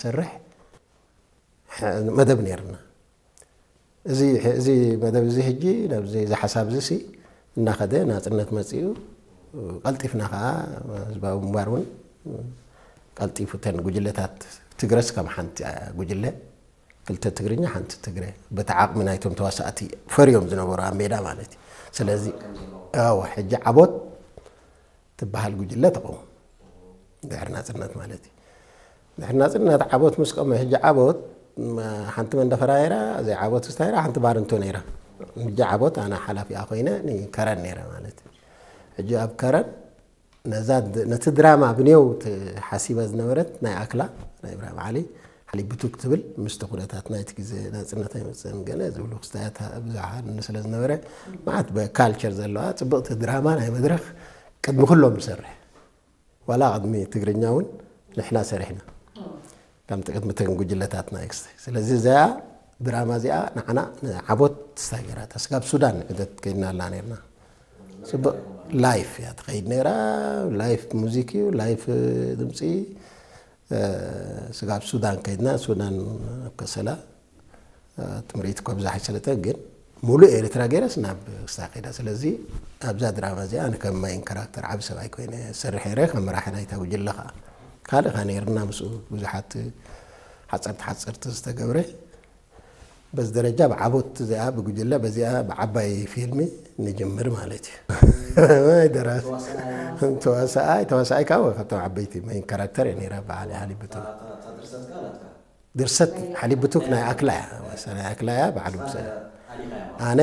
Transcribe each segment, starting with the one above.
ሰርሕ መደብ ነርና። እዚ መደብ እዚ ሕጂ ናብዚ እዚ ሓሳብ እዚ እናኸደ ናፅነት መፅኡ ቀልጢፍና ከዓ ህዝባዊ ምንባር እውን ቀልጢፉ እተን ጉጅለታት ትግረስ ከም ሓንቲ ጉጅለ ክልተ ትግርኛ ሓንቲ ትግረ በቲ ዓቕሚ ናይቶም ተዋሳእቲ ፈርዮም ዝነበሩ ኣብ ሜዳ ማለት እዩ። ስለዚ ሕጂ ዓቦት ትበሃል ጉጅለ ተቐውም ድሕሪ ናፅነት ማለት እዩ። ድሕሪ ናፅነት ዓቦት ምስ ቀመ ሕጂ ዓቦት ሓንቲ መንደፈራ ነይራ። እዚኣ ዓቦት ስታ ነይራ ሓንቲ ባርንቶ ነይራ። ሕጂ ዓቦት ኣነ ሓላፊኣ ኮይነ ንከረን ነይረ ማለት እዩ። ሕጂ ኣብ ከረን ነዛ ነቲ ድራማ ብኔው ሓሲበ ዝነበረት ናይ ኣክላ ናይ ብራም ዓሊ ሓሊብ ብቱክ ትብል ምስቲ ኩነታት ናይቲ ግዜ ናፅነት ኣይመፅእን ገለ ዝብሉ ክስታያት ብዙሓን ስለ ዝነበረ ማዓት ብካልቸር ዘለዋ ፅብቕቲ ድራማ ናይ መድረኽ ቅድሚ ኩሎም ንሰርሕ ዋላ ቅድሚ ትግርኛ እውን ንሕና ሰሪሕና ከም ቅድሚ ተን ጉጅለታት ናይ ክስታይ ስለዚ እዚኣ ድራማ እዚኣ ንዓና ንዓቦት ስታይ ገይራታ ስጋብ ሱዳን ዕደት ከይድና ኣላ ነርና ፅቡቅ ላይፍ እያ ትኸይድ ነይራ ላይፍ ሙዚክ እዩ ላይፍ ድምፂ ስጋብ ሱዳን ከይድና ሱዳን ኣብ ከሰላ ትምርኢት እኳ ብዛሕ ኣይሰለጠ ግን ሙሉእ ኤርትራ ገይረስ ናብ ክስታ ከይዳ ስለዚ ኣብዛ ድራማ እዚኣ ኣነ ከም ማይን ካራክተር ዓብ ሰብኣይ ኮይነ ዝሰርሕ ነረ ከም መራሒ ናይታ ጉጅለ ከዓ ካልእ ከ ነይርና ምስኡ ብዙሓት ሓፀርቲ ሓፀርቲ ዝተገብረ በዚ ደረጃ ብዓቦት እዚኣ ብጉጅለ በዚኣ ብዓባይ ፊልሚ ንጅምር ማለት እዩ ደራሲ ተዋሳኣይ ተዋሳኣይ ከዓ ካብቶም ዓበይቲ መይን ካራክተር እየ ነይረ በዓል ሓሊብ ብቱክ ድርሰት ሓሊብ ብቱክ ናይ ኣክላ እያ ናይ ኣክላ እያ በዓል ውብሰ ኣነ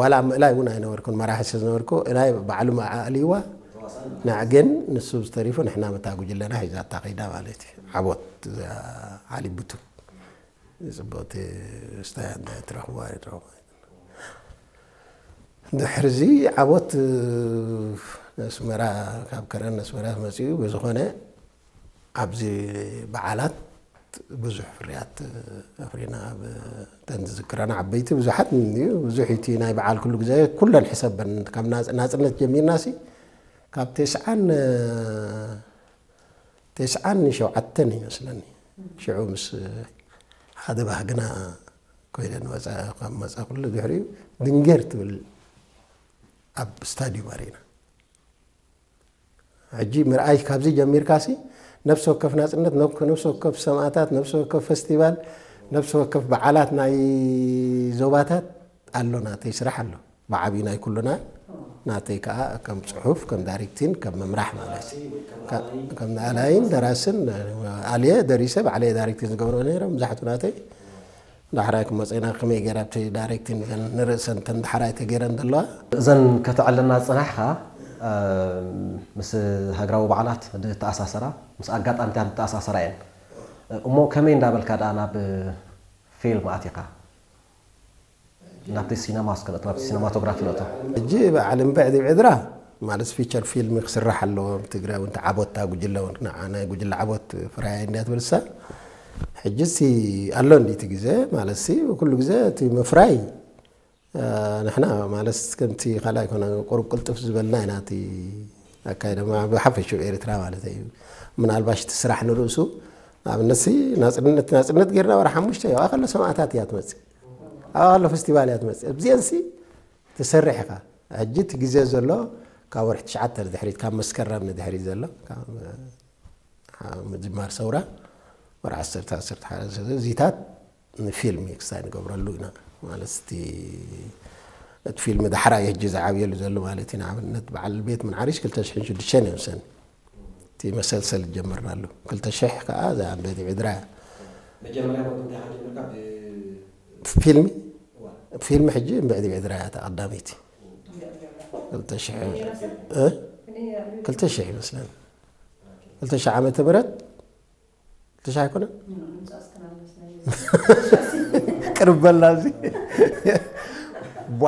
ዋላ ኣብ ምእላይ እውን ኣይነበርኩን መራሒ ስለ ዝነበርኩ ናይ ባዕሉ ኣልይዋ ንዕ ግን ንሱ ዝተሪፉ ንሕና መታ ጉጅለና ሒዛታ ከይዳ ማለት እዩ ዓቦት ሓሊብ ብቱክ ፅቡቅቲ ስታይ ትረኽብዋ ትረኽቡ ድሕርዚ ዓቦት ኣስመራ ካብ ከረን ኣስመራ መፅኡ ብዝኾነ ኣብዚ በዓላት ብዙሕ ፍርያት ኣፍሪና ኣብ ተን ዝዝክረና ዓበይቲ ብዙሓት እዩ ብዙሕ እቲ ናይ በዓል ኩሉ ግዜ ኩለን ሕሰበን ካብ ናፅነት ጀሚርና ሲ ካብ ተስዓን ተስዓን ሸውዓተን ይመስለኒ ሽዑ ምስ ሓደ ባህግና ኮይነ ንወፃ ካብ መፃ ኩሉ ድሕሪኡ ድንጌር ትብል ኣብ ስታዲዩም ኣሪና ሕጂ ምርኣይ ካብዚ ጀሚርካ ሲ ነፍሲ ወከፍ ናፅነት ነፍሲ ወከፍ ሰማእታት ነፍሲ ወከፍ ፈስቲቫል ነፍሲ ወከፍ በዓላት ናይ ዞባታት ኣሎ ናተይ ስራሕ ኣሎ ብዓብዩ ናይ ኩሉና ናተይ ከዓ ከም ፅሑፍ ከም ዳይሬክቲን ከም ምምራሕ ማለት እዩ ከም ንኣላይን ደራስን ኣልየ ደሪሰ ባዕለየ ዳይሬክቲን ዝገብሮ ነይረ መብዛሕቱ ናተይ ዳሕራይ ክመፀና ከመይ ገይራ ኣብቲ ዳይሬክቲን እዘን ንርእሰን ተን ዳሕራይ ተገይረን ዘለዋ እዘን ከተዕልና ዝፅናሕካ ምስ ሃገራዊ በዓላት ዝተኣሳሰራ ምስ ኣጋጣሚታት ዝተኣሳሰራ እየን እሞ ከመይ እንዳበልካ ደኣ ናብ ፊልም ኣቲኻ ናብቲ ሲነማ እስከ ንእቶ ናብቲ ሲነማቶግራፊ ንእቶ ሕጂ በዓል እምብዕ ዲብ ዕድራ ማለት ፊቸር ፊልም ክስራሕ ኣለዎ ትግራይ እውን ተዓቦት እታ ጉጅለ እውን ንዓ ናይ ጉጅለ ዓቦት ፍራያ እንድያ ትብል እሳ ሕጂ ሲ ኣሎ እንዲ እቲ ግዜ ማለት ሲ ኩሉ ግዜ እቲ ምፍራይ ንሕና ማለት ከምቲ ካልኣይ ኮነ ቁሩብ ቅልጥፍ ዝበልና ኢና እቲ ኣካይዳ ብሓፈሽኡ ኤርትራ ማለት እዩ ምናልባሽ እቲ ስራሕ ንርእሱ ንኣብነት ሲ ናፅነት ናፅነት ጌርና ወራ ሓሙሽተ እዩ ከሎ ሰማእታት እያ ትመፅእ ኣብኣ ከሎ ፈስቲቫል እያ ትመፅእ ኣብዚአን ሲ ትሰርሕ ኢኻ ሕጂ እቲ ግዜ ዘሎ ካብ ወርሒ ትሽዓተ ንድሕሪት ካብ መስከረም ንድሕሪት ዘሎ ካብ ምጅማር ሰውራ ወርሒ ዓሰርተ ዓሰርተ ሓደ እዚታት ንፊልም ክስታይ ንገብረሉ ኢና ማለት እቲ እቲ ፊልም ዳሕራይ ሕጂ ዝዓብየሉ ዘሎ ማለት እዩ ንኣብነት በዓል ቤት ምንዓሪሽ ክልተ ሽሕን ሽዱሽተን እዮም ሰኒ እቲ መሰልሰል ጀመርናሉ ክልተ ሽሕ ከዓ እዛ ቤት ዕድራ እያ መጀመርያ ወዲ እንታይ ሓጀመርካ ብ- ፊልሚ እዋ። ፊልሚ ሕጂ እምብዕዲ ብዕድራ እያ እታ ቀዳመይቲ ክልተ ሽሕ እ? ክልተ ሽሕ ይመስለኒ ክልተ ሽሕ ዓመተ ምህረት ክልተ ሽሕ ኣይኮነን ቅርብ በልና እዚ ቧ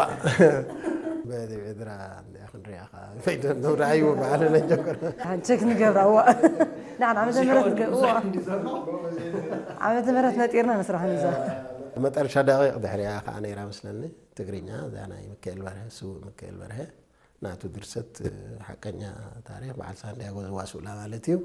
በዚ ዕድራ እንዲያ ክንሪኣ ከዓ ፈይደ ነውራዩ በዓል ነጀምር ሓንቸክ ንገብራ እዋ ንዓን ዓመተ ምህረት ንገብዋ ዓመተ ምህረት ነጢርና ንስራሕ ንዛ መጠረሻ ደቂቕ ድሕሪያ ከዓ ነይራ መስለኒ ትግርኛ እዛ ናይ ምክኤል በርሀ ስውእ ምክኤል በርሀ ናቱ ድርሰት ሓቀኛ ታሪክ በዓል ሳንዲያጎ ዘዋስኡላ ማለት እዩ